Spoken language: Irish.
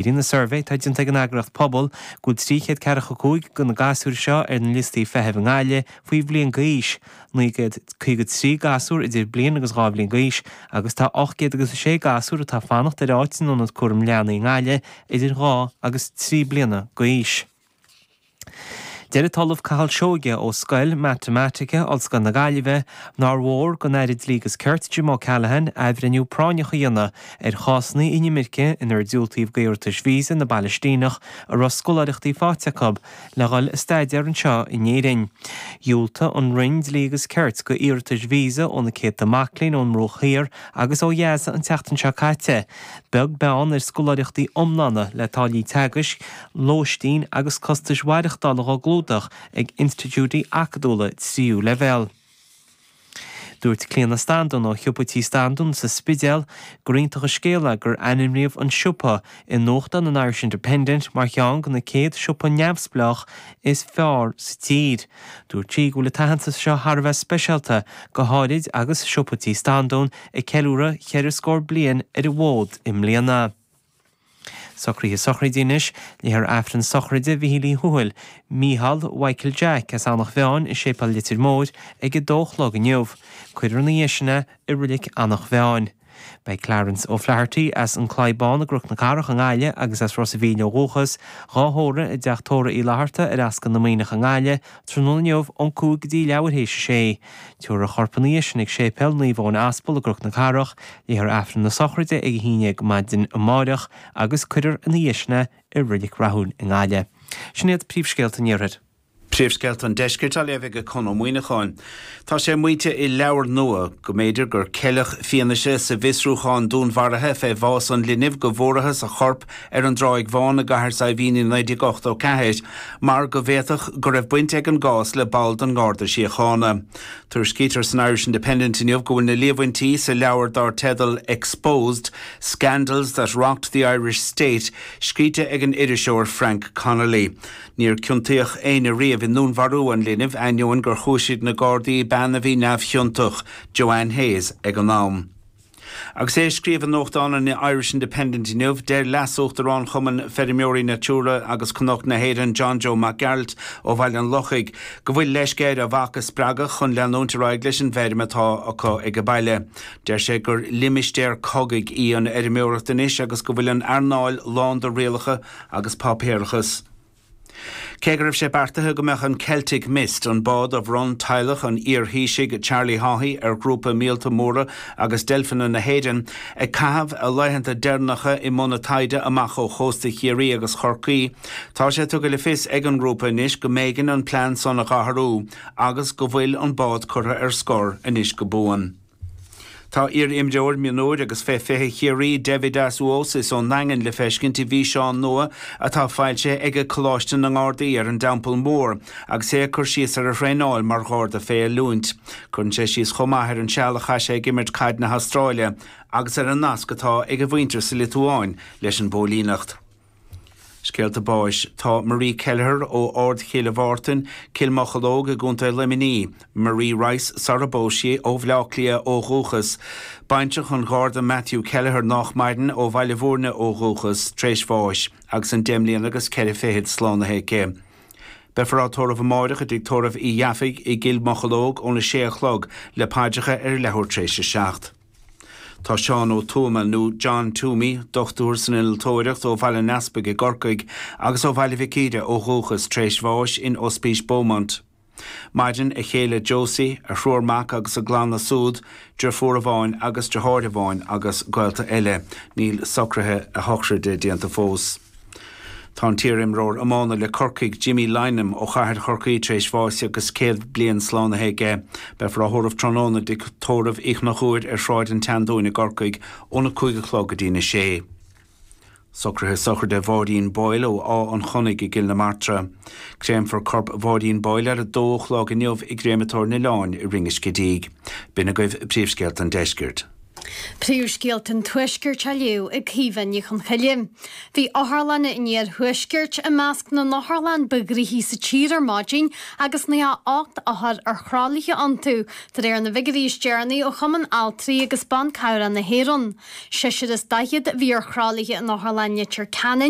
Léiríonn an suirbhé atá déanta ag an eagraíocht Pobal go bhfuil 345 de na gasúir seo ar na liostaí feithimh i nGaillimh faoi bhliain d'aois, 953 gasúr idir bliain agus 2 bhliain d'aois agus tá 806 gasúr atá ag fanacht ar áit in ionad cúraim leanaí i nGaillimh idir 2 agus 3 bliana d'aois. Deir an tOllamh Cathal Seoighe ó Scoil Matamaitice Ollscoil na Gaillimhe nár mhór don Aire Dlí agus Cirt Jim O'Callaghan athbhreithniú práinneach a dhéanamh ar chásanna inimirce inar diúltaíodh d'iarratais víosa na bPalaistíneach a raibh scoláireachtaí faighte acu le dhul a staidéar anseo in Éirinn. Dhiúltaigh an Roinn Dlí agus Cirt do iarratais víosa ó na céadta mac léinn ón mBruach Thiar agus ó Ghaza an tseachtain seo caite, beag beann ar scoláireachtaí iomlána le táillí teagaisc, lóistín agus costais mhaireachtála dhá gclúdach ag institiúidí acadúla tríú leibhéal. Dúirt Clíona Standún ó Shiopa Tí Standún sa Spidéal gur iontach an scéal é gur ainmníodh an siopa i nuachtán an Irish Independent mar cheann de na 100 siopa neamhspleách is fearr sa tír. Dúirt sí go bhfuil an t-aitheantas seo thar a bheith speisialta, go háirid agus Siopa Tí Standún ag ceiliúradh cheithre scór bliain ar an bhfód i mbliana. Socruithe sochraide anois. Léifear Aifreann sochraide Mhichíl Uí Thuathail, Mícheál Mhichael Jack, as Eanach Mheáin i Séipéal Leitir Móir ag a dó a chlog inniu. Cuirfear ina dhiaidh sin é i Reilig Eanach Mheáin. Beidh Clarence O'Flaherty as An Claí Bán i gCnoc na Cathrach i nGaillimh agus as Ros a' Mhíl ó dhúchas, dhá thórramh i dTeach Tórraimh Uí Fhlatharta ar Ascaill na Muimhneach i nGaillimh tráthnóna inniu ón 5 go dtí leathuair théis a sé. Tabharfar a chorp ina dhiaidh sin ag Séipéal Naomh Eoin Aspal i gCnoc na Cathrach, léifear Aifreann na sochraide ag a haon dhéag maidin amáireach agus cuirfear ina dhiaidh sin é i Reilig Rathúin i nGaillimh. Sin iad príomhscéalta an Iarthair. Príomhscéalta an Deiscirt á léamh ag Conn Ó Muíneacháin. Tá sé maíte i leabhar nua go mb'fhéidir gur ceileadh fianaise sa bhfiosrúchán dúnmharaithe fé bhás an linbh go bhfuarathas a chorp ar an dTráigh Bhán i gCathair Saidhbhín i 1984 mar go bhféadfadh go raibh baint ag an gcás le ball den nGarda Síochána. Tuairiscítear san Irish Independent inniu go bhfuil na líomhaintí sa leabhar dar teideal Exposed, Scandals that Rocked the Irish State scríte ag an iriseoir Frank Connolly. Níor ciontaíodh éinne riamh i ndúnmharú an linbh, ainneoin gur chúisigh na Gardaí bean a bhí neamhchiontach, Joanne Hayes, ag an am. Agus é ag scríobh i nuachtán an Irish Independent inniu, deir Leas-Uachtarán Chumann Feirmeoirí Natura agus Cnoc na hÉireann John Joe Mac Gearailt ó Bhaile an Lochaigh go bhfuil leisce air a mhac a spreagadh chun leanúint ar aghaidh leis an bhfeirm atá acu ag baile. Deir sé gur limistéar cogaidh í an fheirmeoireacht anois agus go bhfuil an earnáil lán de rialacha agus páipéarachas. Cé go raibh sé beartaithe go mbeadh an Celtic Mist, an bád a bhronn teaghlach an iar-Thaoisigh Charlie Haughey ar ghrúpa Míolta Móra agus Deilfeanna na hÉireann, ag caitheamh a laethanta deireanacha i mbun a taighde amach ó chósta Chiarraí agus Chorcaí, tá sé tugtha le fios ag an ngrúpa anois go mb'éigean an plean san a dh'athrú agus go bhfuil an bád curtha ar scor anois go buan. Tá iar-imreoir mionúir agus fé 20 Chiarraí, Deividas Uosis ón nDaingean le feiscint i bhfíseán nua atá foilsithe ag Coláiste na nGardaí ar an dTeampall Mór agus é ag cur síos ar a thraenáil mar Gharda fé oiliúint. Cuireann sé síos chomh maith ar an seal a chaith sé ag imirt caid na hAstráile agus ar an nasc atá ag a mhuintir sa Liotuáin leis an bpóilíneacht. Scéalta báis. Tá Marie Kelleher ó Ard Chille Mhártain, Cill Mocheallóg i gContae Luimnigh, Marie Rice sara bpós sí, ó Bhleá Cliath ó dhúchas, baintreach an Gharda Matthew Kelleher nách maireann, ó Bhaile Bhúirne ó dhúchas, tréis bháis agus an deich mbliana agus ceithre fichid slánaithe aici. Beifear á tórramh amáireach i dTigh Tórraimh Uí Dheafaigh i gCill Mocheallóg óna sé a chlog le paidreacha ar leathuair tréis a 7. Tá Seán Ó Tuama, nó John Toomey, dochtúir san innealtóireacht ó Bhaile an Easpaig i gCorcaigh agus ó Bhaile Mhic Íre ó dhúchas, tar éis bháis in Ospís Beaumont. Maireann a chéile Josie, a thriúr mac agus a gclanna súd, deirfiúr amháin agus deartháir amháin agus gaolta eile. Níl socruithe a shochraide déanta fós. Tá an t-iar-imreoir iomána le Corcaigh, Jimmy Lynam ó chathair Chorcaí tar éis bháis agus 100 bliain slánaithe aige. Beifear á thórramh tráthnóna i dTigh Tórraimh Uí Chonchúir ar Shráid an tSeandúin i gCorcaigh óna 5 a chlog go dtína sé. Socruithe sochraide Mháirín Boyle ó Áth an Chonnaigh i gCill na Martra. Créamfar corp Mháirín Boyle ar a dó a chlog inniu i gCréamatóir an Oileáin i Rinn an Scidígh. B'in agaibh príomhscéalta an deiscirt. Príomhscéalta an Tuaiscirt á léamh ag Caoimhe Ní Chonchoille. Bhí otharlanna an iarthuaiscirt i measc na n-otharlann ba ghnoithí sa tír ar maidin agus 98 othar ar thralaithe iontu, de réir na bhfigiúirí is deireanaí ó Chumann Altraí agus Ban Cabhrach na hÉireann. Seisear is daichead a bhí ar thralaithe in Otharlann Leitir Ceanainn.